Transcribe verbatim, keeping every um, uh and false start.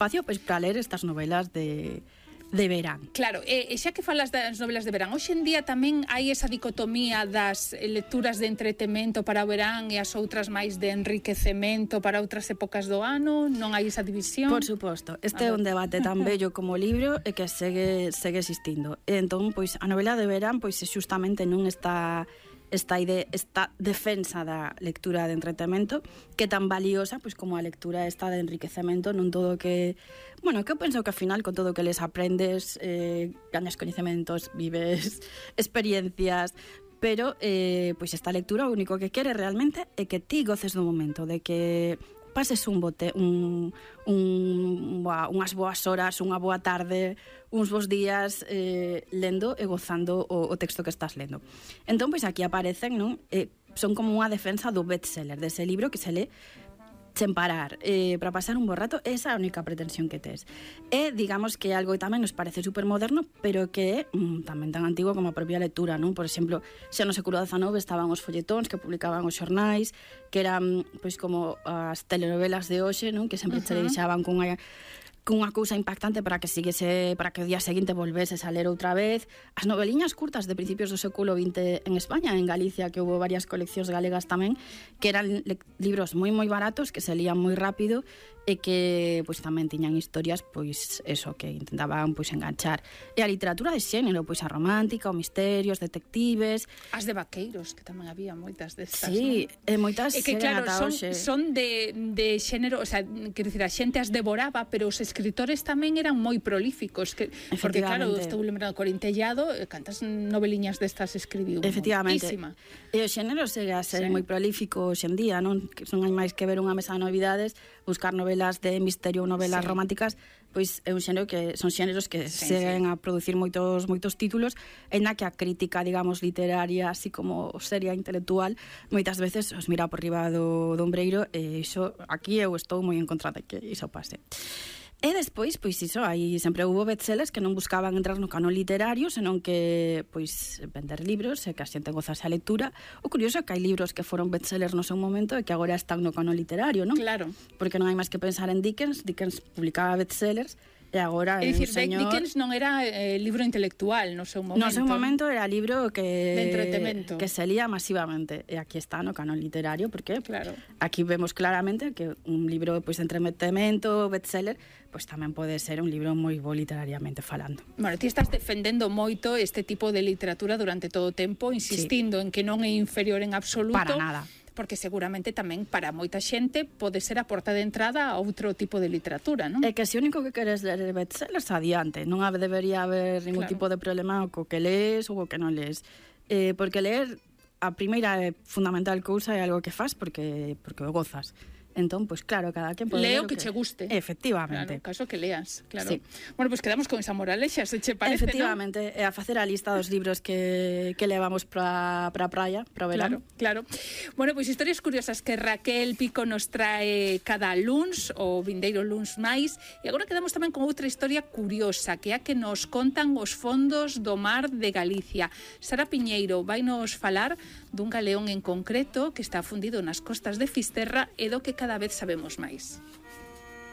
espacio pois para ler estas novelas de de verán. Claro, e, e xa que falas das novelas de verán, hoxe en día tamén hai esa dicotomía das lecturas de entretemento para o verán e as outras máis de enriquecemento para outras épocas do ano, non hai esa división? Por suposto, este é un debate tan bello como o libro e que segue segue existindo. E entón, pois a novela de verán pois xustamente non está esta idea, esta defensa da lectura de entretemento que é tan valiosa pois como a lectura esta de enriquecemento, non todo que, bueno, que eu penso que ao final con todo que les aprendes, eh, gañas coñecementos, vives experiencias, pero eh, pois esta lectura o único que quere realmente é que ti goces do momento, de que pases un bote, un, un, unhas boas horas, unha boa tarde, uns bons días eh, lendo e gozando o, o texto que estás lendo. Entón, pois aquí aparecen, non? Eh, son como unha defensa do bestseller, dese libro que se lee sen parar, eh, para pasar un bo rato. Esa é a única pretensión que tes. E, digamos, que é algo que tamén nos parece supermoderno, pero que é mm, tamén tan antigo como a propia lectura, non? Por exemplo, xa no século dezanove estaban os folletóns que publicaban os xornais, que eran, pois, como as telenovelas de hoxe, non? Que sempre uh-huh. che deixaban con unha cunha cousa impactante para que siguese, para que o día seguinte volveses a ler outra vez. As noveliñas curtas de principios do século vinte en España, en Galicia, que houve varias coleccións galegas tamén, que eran libros moi moi baratos, que se lían moi rápido e que pois tamén tiñan historias, pois eso, que intentaban pois enganchar. E a literatura de xénero, pois a romántica, o misterios, detectives, as de vaqueiros, que tamén había moitas destas, sí, non? e moitas e que claro, son, hoxe. son de, de xénero, o sea, quero dicir, a xente as devoraba, pero os escritores tamén eran moi prolíficos, que, porque claro, estou lembrando Corintellado, cantas noveliñas destas escribiu, efectivamente, moitísima. E o xénero segue a ser sí. moi prolífico hoxe en día, non? Que son máis que ver unha mesa de novidades, buscar novelas de misterio ou novelas sí. románticas, pois é un xénero que son xéneros que sí, seguen sí. a producir moitos moitos títulos, en na que a crítica, digamos, literaria, así como seria intelectual, moitas veces os mira por riba do, do ombreiro, e iso aquí eu estou moi en contra de que iso pase. E despois, pois iso, aí sempre houve bestsellers que non buscaban entrar no canon literario, senón que, pois, vender libros e que a xente gozase a lectura. O curioso é que hai libros que foron bestsellers no seu momento e que agora están no canon literario, non? Claro. Porque non hai máis que pensar en Dickens. Dickens publicaba bestsellers e agora é dicir, señor... Dickens non era eh, libro intelectual no seu momento. No seu momento era libro que de entretemento, que se lía masivamente, e aquí está no canon literario, porque claro. aquí vemos claramente que un libro pois, de entretenimento, bestseller, pois tamén pode ser un libro moi bo literariamente falando. Bueno, ti estás defendendo moito este tipo de literatura durante todo o tempo, insistindo sí. en que non é inferior en absoluto. Para nada. Porque seguramente tamén para moita xente pode ser a porta de entrada a outro tipo de literatura, non? É que se o único que queres ler é bestsellers, adiante. Non debería haber ningún claro. tipo de problema co que lees ou co que non lees. Eh, porque ler, a primeira e fundamental cousa é algo que fas porque, porque o gozas. Entón, pois pues, claro, cada quen pode leo ler o que, que che guste. Efectivamente. Claro, caso que leas, claro. Sí. Bueno, pois pues quedamos con esa moralexa, se che parece, efectivamente, e a facer a lista dos libros que, que levamos para a praia, para o verano. Claro, claro. Bueno, pois pues, historias curiosas que Raquel Pico nos trae cada luns, o vindeiro luns máis, e agora quedamos tamén con outra historia curiosa, que é a que nos contan os fondos do mar de Galicia. Sara Piñeiro vai nos falar dun galeón en concreto que está fundido nas costas de Fisterra e do que cada vez sabemos máis.